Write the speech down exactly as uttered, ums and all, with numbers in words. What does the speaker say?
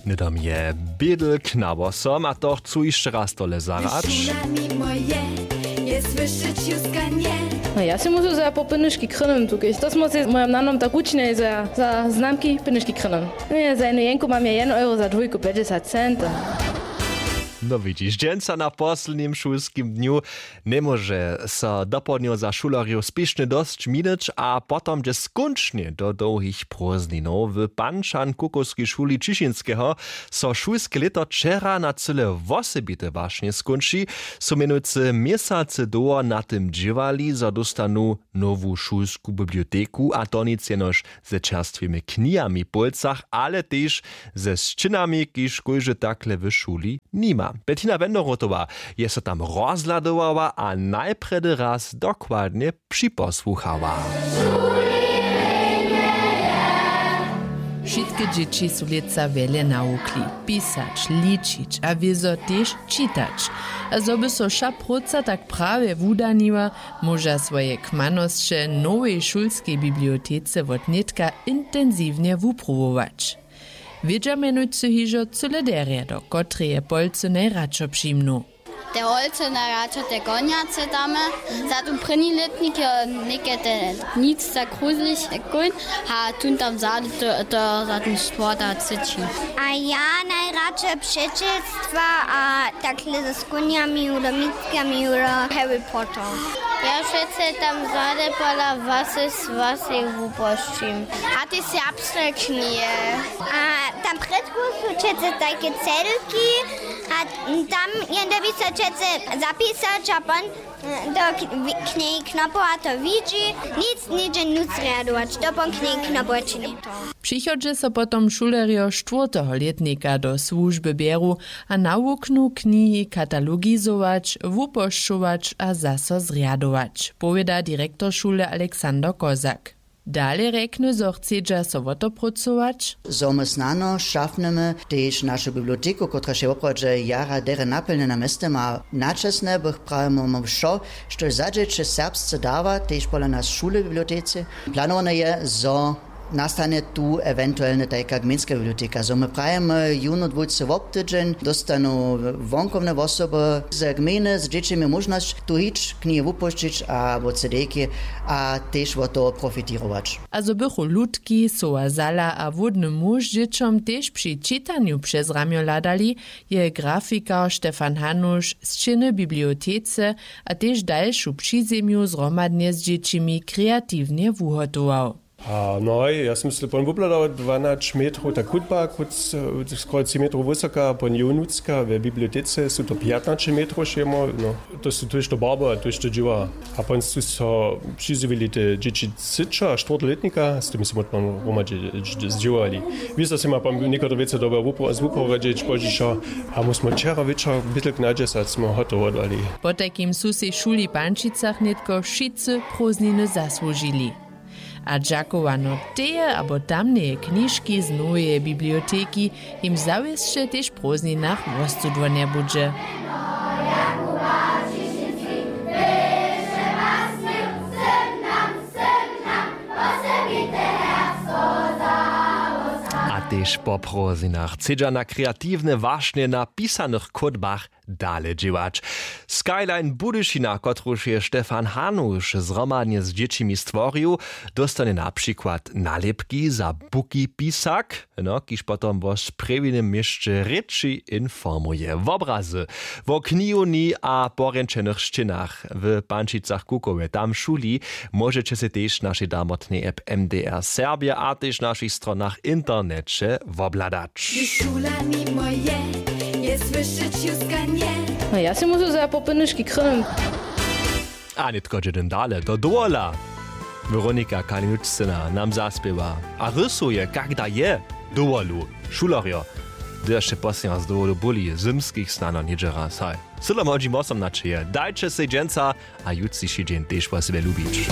Hnydom je bědl k nawosom a to chcu hišće raz tole zarać. No ja sej musu za popynyški krynym tukej to smo sej z mojom nanom tak wučinjeli za za znamki pynyški krynym. Nje za jednu jenku mam ja jednu euro za dwójku pjećdźesat cent. No widźiš, dźensa na poslednim šulskim dnju njemóže so dopołdnjo za šulerjow spěšnje dosć minić a potom dźe skónčnje do dołhich prózdninow w panšan kukowskej šuli ćišinskeho. So šulske lěto wčera na cyle wosebite wašnje skónči. Su mjenujcy měsacy dołho na tym dźěłali zo dóstanu nowu šulsku biblioteku a to nic jenož ze čerstwymi knihami w pólcach ale tež ze sćěnami kiž kóždy takle w šuli nima. Bettina wenderotowa je so tam rozhladowała a najprjedy raz dokładnje připosłuchała. Wšitke dźěći su lětsa wjele nawukli, pisać, ličić a wězo tež čitać. A zo by so wša próca tak prawje wudaniła, móža swoje kmanosće w nowej šulskej bibliotece wotnětka intensiwnje wupruwować. Wědźa mjenujcy hižo cyle derje do kotreje polcy najradšo přimnu. Te holce najradšo te konjace damy. Za tón prěni lětnik jo něke te nic za kruzlich kóń. A tón tam zady to za tón štwórta třeći. A ja najradšo přećelstwa a takle z kónjami hudo mitkami hudo harry potter. Ja přece tam zady pola wasy z wasy wupošćim. A ty serbsne knihe. A tam prědku su přece tajke cedlki a tam jende by so přece zapisać a pon do kněhi knopowa to widźi. Nic něhdźe nutř rjadować to pon kněhi knopowa čini. Přichodźe so potom šulerjo štwórteho lětnika do słužby bjeru a nawuknu knihi katalogizować, wupošćować a zaso zrjadować, powěda direktor šule alexander kozak. Dale rjekny zo chcedźa so wo to prócować. Zo my snano šafnymy tež našu biblioteku kotraž je woprawdźe jara derje napjelnjena mjeztym a načesne bych prawjemy my wšo štož za dźěće serbsce dawa tež pola nas w šule w bibliotece. Planowane je zo nastanje tu ewentuelnje tajka gmejnska biblioteka zo my prawjemy jónu dwójce wobtydźeń dóstanu wonkowne wosoby z gmejny z dźěćimi móžnosć tu hić knihi wupušćić abo cdejki a tež wot toho profitěrować. A zo bychu lutki soła zala a hłódny muž dźěćom tež při čitanju přez ramjo hladali, je grafikar stefan hanuš sćěny w bibliotece a tež dalšu přizemju zhromadnje z dźěćimi kreatiwnje wuhotował. A no hoj ja sym sle pon wubladał dwanać metrow ta kutba kóc skoro tři metrow wysoka pon jow nutřka we bibliotece su to pjatnaće metrow šejmo no. To su tójšto barbow a tójšto dźěła. A pon su so přizjewili te dźěći třećeho a štwórteho lětnika z tym smy pon hromadźe zdźěłali. Wězo sej ma pon někotre wěcy dobył zwuporadźeć pozdźišo. A my smy wčera wječor bětlk na dźesać smy hotowodali. Potajkim su sej w šuli w pančicach nětko wšitcy prózdniny zasłužili. A dźakowano teje abo tamneje knižki z noweje biblioteki jim zawěsće tež w prózdninach wostudło njebudźe. A tež po prózdninach chcedźa na kreatiwne wašnje na pisanych kódbach dale dźěłać. Skyline budyšina kotruž je stefan hanuš zhromadnje z dźěćimi stworił, dóstanje na přikład nalěpki za buki pisak, no kiž potom wo sprjewjenym měsće rěči informuje wobrazy wo knihownji a porjenčenych sćěnach w pančicach kukowje tam w šuli. Móžeće sej tež w našej damotnej app mdr serbje a tež w našich stronach w interneće wobhladać. Hdyž šula nimo je, je słyšeć juska nje. No ja sej musu za popynyški krynym. A nětko dźe dym dale do dowola. Weronika kalinučcyna nam zaspěwa a rysuje kak da je dowolu šulerjo. Hdyž sće poslednja z dowolu buli zymskich snano něhdźe raz haj. Sydlo młodźim wosom na čeje dajće sej dźensa a jutřiši dźeń tež wo sebje lubić.